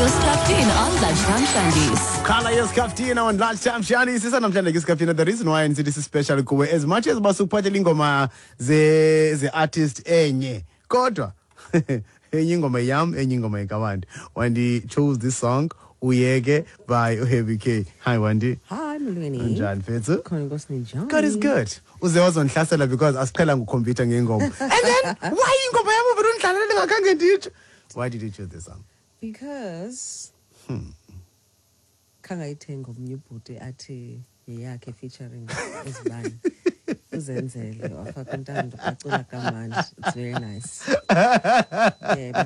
Yoskaftin on Lunchtime Shandies. Khala yesikaftina on Lunchtime Shani. Sisa namhlanje ke isikaftina. The reason why ndisithi si-special kuwe, as much as basukuphathela ingoma ze artist enye, kodwa enye ingoma yam, enye ingoma yekabantu. Wandi chose this song, Uyeke by Heavy K. Hi, Wandi. Hi, Molweni. Njani, mfethu? Khona, Nkosi, ninjani? God is good. Uze wazondihlasela because asiqhela ngukhompyutha ngengoma. And then why ingoma yam uvele undidlalele ngakhange nditsho? Why did you choose this song? Because khangayithenga omnye ubhuti athi yeyakhe featuring uzibani. Uzenzele wafaka uNtando acula kamandi. It's very nice. Yebo.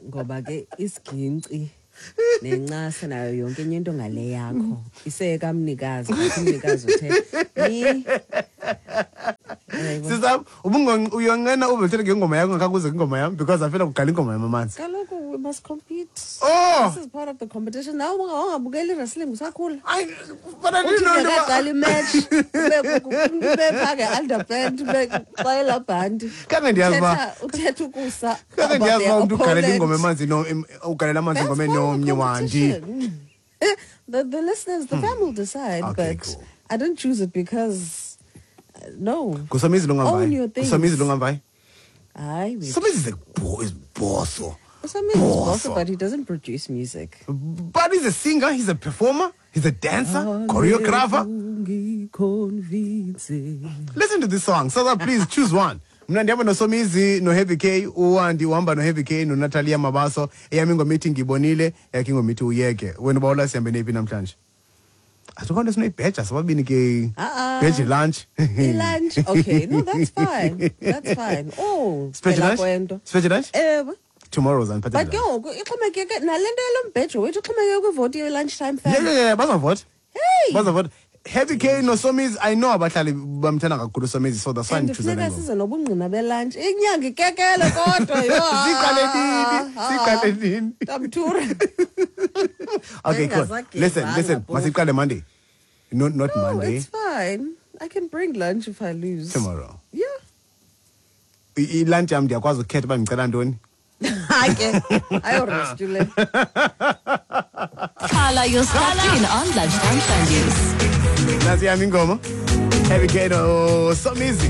Ngoba ke isiginci nencasa nayo yonke enye into ngale yakho isekamnikazi, but umnikazi uthe ni. Yebo. Sisam, ubungo uyonqena ube ngengoma yakho ngakhange uze kwingoma yam because I feel like uqala ingoma yam amanzi. Kaloku we must compete. Oh! This is part of the competition. Nawe ungabukeli wrestling usakhula. I but I Uthi didn't know into ungekaqali imatch ube phaa nge-underpant ube xela bhanti. Khange ndiyazi uba Uthetha ukusa Khange about ndiyazi their uba umntu ugalela opponent. ingoma emanzi no ugalela amanzi That's ingoma part of the enomnye, Wandi. competition. The listeners, the fam will decide, Okay, but cool. I didn't choose it because no. Ngusomizi Own longamvayi. your things. Ngusomizi longamvayi. Hayi, wethu. Somizi is a is bosso. Somizi is Bosso. boss, but he doesn't produce music. But he's a singer, he's a performer, he's a dancer, choreographer. Listen to this song. So that please choose one. Mna ndihamba noSomizi noHeavy K, uWandi uhamba noHeavy K noNatalia Mabaso. Eyam ingoma ithi Ngibonile, yakhe ingoma ithi Uyeke. Wena ubawula sihambe neyiphi namhlanje? Asikho nto sinoyibheja sobabini ke. Ah-ah. Bheje lunch. I-lunch, okay. No, that's fine. That's fine. Oh, Sibheje phela lunch? kwento. Sibheje lunch? Ewe. Tomorrow uzandiphathela But ke lunch. ngoku ixhomekeke nale nto yalo mbhejo wethu ixhomekeke kwivoti ye-lunchtime fam. Yeah, bazavota. Hey! Bazavota. Heavy K noSomizi, I know abahlali bamthanda kakhulu uSomizi, so that's why And ndichoose le funeka ngoma. size nobungqina belunch. Inyanga ikekele kodwa yho. Siqale nini? Siqale nini? Tamthura. Okay, cool. Listen, Bengingazagezanga listen. phofu. Masiqale Monday. No, not No, Monday. it's fine. I can bring lunch if I lose. Tomorrow. Yeah. I-lunch yam ndiyakwazi ukukhetha uba ndicela ntoni. Hayi ke, ayorest le. Khala Yoskaftin on Lunchtime Shandies. Nantsi yam ingoma. Heavy K noSomizi.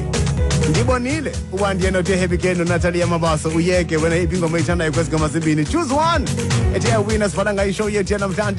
Ndibonile uba ndiye nothi Heavy K noNatalia Mabaso Uyeke. Wena iphi ingoma oyithandayo kwezi ngoma zimbini? Choose one. Ethi yawina sivala ngayo ishow yethu yanamhlanje.